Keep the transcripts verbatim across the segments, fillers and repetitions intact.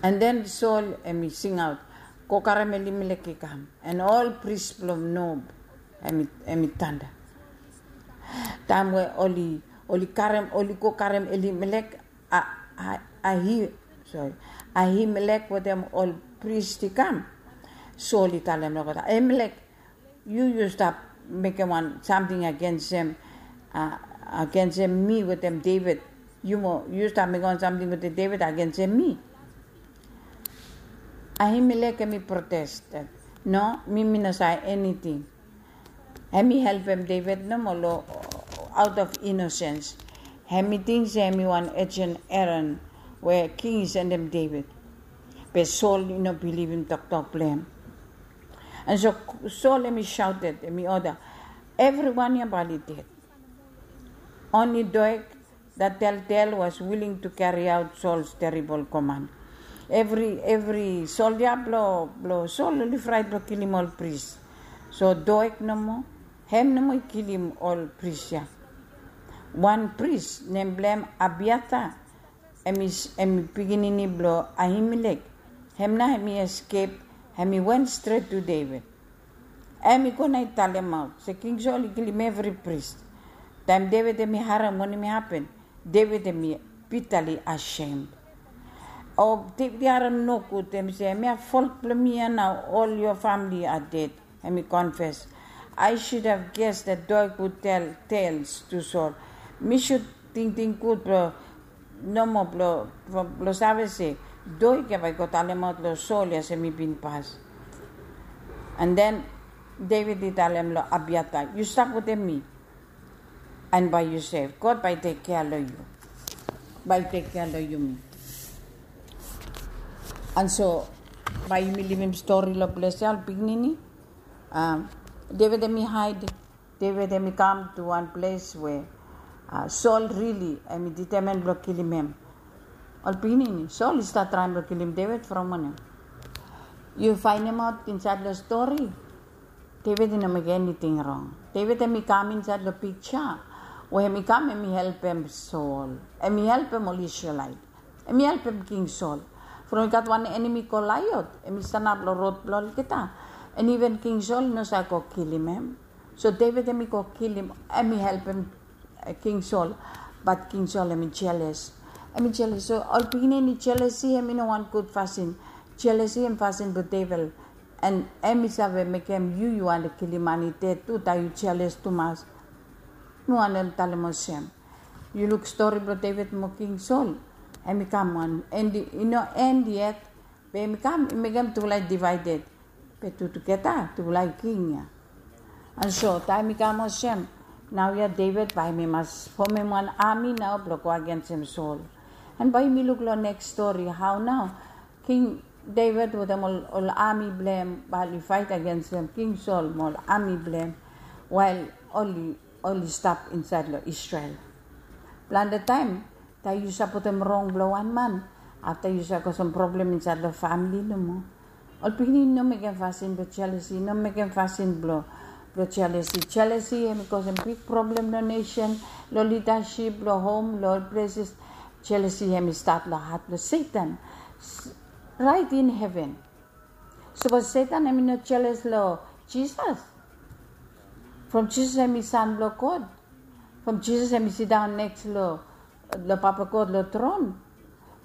And then Sol em i singaut, "Go karem Elimelek i kam." And ol pris blong Nob em i, em i tanda. Taem we oli, oli karem, oli go karem Elimelek, a, a, Ahi, sori, Ahimelek wetem ol pris i kam. Sol i talem long God, "Ahimelek, yu, yu stap mekem wan samting agensem, a, agensem mi wetem Deved. Yu mo, yu stap mekem wan samting wetem Deved agensem mi." Ahimelek em i protest, "No, mi, mi no save eniting." Hem i helpem Deved nomo long, out of innocence. Hem i ting se hem i wan agent Aaron we king i sendem Deved. Be Sol i no bilivim toktok blong hem. And so Sol hem i shouted, hem i order, "Evriwan ya bae oli ded. Only Doeg, that telltale, was willing to carry out Saul's terrible command." Evri, evri soldia blong, blong Sol oli fraet blong kilim ol pris. So Doeg nomo, hem nomo i kilim ol pris ya. Wan pris nem blong hem Abiatar, hem i, hem i pikinini blong Ahimelek. Hem nao hem i escape, hem i went straight to Deved. Hem i go nao i talemaot se King Sol i kilim evri pris. Taem Deved hem i harem wanem i hapen, Deved hem i bitterly ashamed. O Deved i harem nogud, hem i se, "Hemia fault blong mi ya nao, all your family are dead." Hem i confess, "I should have guessed that Doeg would tell tales to Saul." Mi should tingting gud blong, nomo blong, blong save se Doeg ya bae i go talemaot long Sol ya se mi bin pas. And then Deved i talem long Abiatar, "Yu stap wetem mi, and bae yu sef. God bae i tek kea long yu. Bae i tek kea long yumi." And so bae yumi livim stori long ples ya, ol pikinini. Um, Deved hem i haed, Deved hem i kam to wan ples we, uh, Sol rili hem i determine blong kilim hem. Ol pikinini, Sol i stat traem blong kilim Deved from wanem? Yu faenemaot insaed long stori, Deved i no mekem eniting rong. Deved hem i kam insaed long piksa we hem i kam hem i helpem Sol, hem i helpem ol Isrelaet. Hem i helpem King Sol. From i gat wan enemi Goliat, hem i stanap long rod blong olgeta. And even King Sol i no save go kilim hem. So Deved hem i go kilim, hem i helpem, eh, King Sol. But King Sol hem i jeles. Hem i jeles. So ol pikinini, jelesi hem i no wan gud fasin. Jelesi hem fasin blong devil. And hem i save mekem yu, yu wantem kilim man i ded tu, taem yu jeles tumas. Mi wantem talem olsem, yu luk stori blong Deved mo King Sol. Hem i kam wan, endi, i no end yet. Be hem i kam, i mekem tufala i divided. Be tu tugeta tufala i king ya. And so taem i kam olsem, naoia Deved bae hem i mas fomem wan ami nao blong go agensem Sol. And bae yumi luk long neks stori hao nao King Deved wetem ol, ol ami blong hem bae oli faet agensem King Sol mo ol ami blong hem, wael oli, oli stap insaed long Isrel. Plante taem taem yu sapotem rong blong wan man, afta yu save go sam problem insaed long famili nomo. Ol pikinini, no mekem fasin blong jelesi, no mekem fasin blong, blong jelesi. Jelesi hem i kosem big problem long nesen, long lidasip, long hom, long ol pleses. Jelesi hem i stat long hat blong Setan, raet in heven. Sapos Setan hem i no jeles long Jisas, from Jisas hem i San blong God, from Jisas hem i sidaon neks long, long Papa God long tron,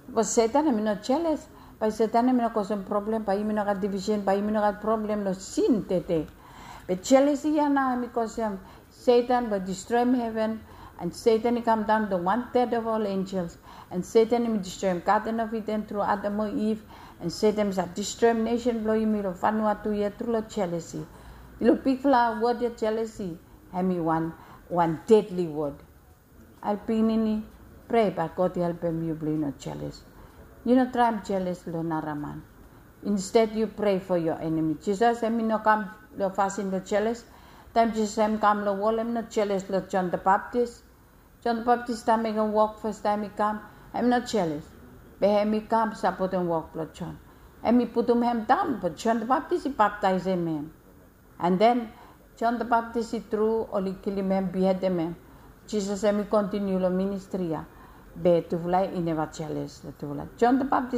sapos Setan hem i no jeles, bae Setan hem i no kosem problem, bae yumi no gat divisen, bae yumi no gat problem long sin tede. Be jelesi ya nao hem i kosem Setan blong distroem heven, and Setan i kamdaon long wan third of all angels, and Setan hem i distroem Garden of Eden tru Adam mo Iv, and Setan hem i save distroem nesen blong yumi long Vanuatu ya tru long jelesi. Long bigfala wod ya jelesi, hem i wan, wan deadly wod. Ol pikinini, prea bae God i helpem yu blong yu no jeles. Yu no traem jeles long nara man. Instead yu prea for your enemy. Jisas hem i no kam long fasin blong jeles. Taem Jisas hem i kam long wol, hem i no jeles long John the Baptist. John the Baptist taem mekem wok fastaem i kam, hem i no jeles. Be hem i kam sapotem wok blong John. Hem i putum hem daon, be John the Baptist i baptaesem hem. And then John the Baptist i tru oli kilim hem, bihedem hem. Jisas hem i kontiniu long ministri ya. Be tufala i neva jeles long tufala. John the Baptist